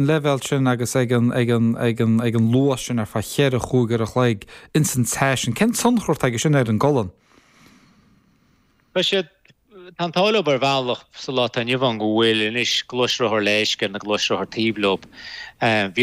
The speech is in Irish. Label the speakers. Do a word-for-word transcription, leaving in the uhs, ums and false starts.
Speaker 1: leibhéal sin agus ag an ag an ag an ag an luas sin ar feadh cheithre chúig uair a chloig ins an teas sin. Cén tionchar atá aige sin ar an gcolainn?
Speaker 2: Tá siad tá an t-ádh leo ar bhealach sa lá atá inniu ann go bhfuil anois gluaisrothar léisce na gluaisrothar taobh leo. Bhí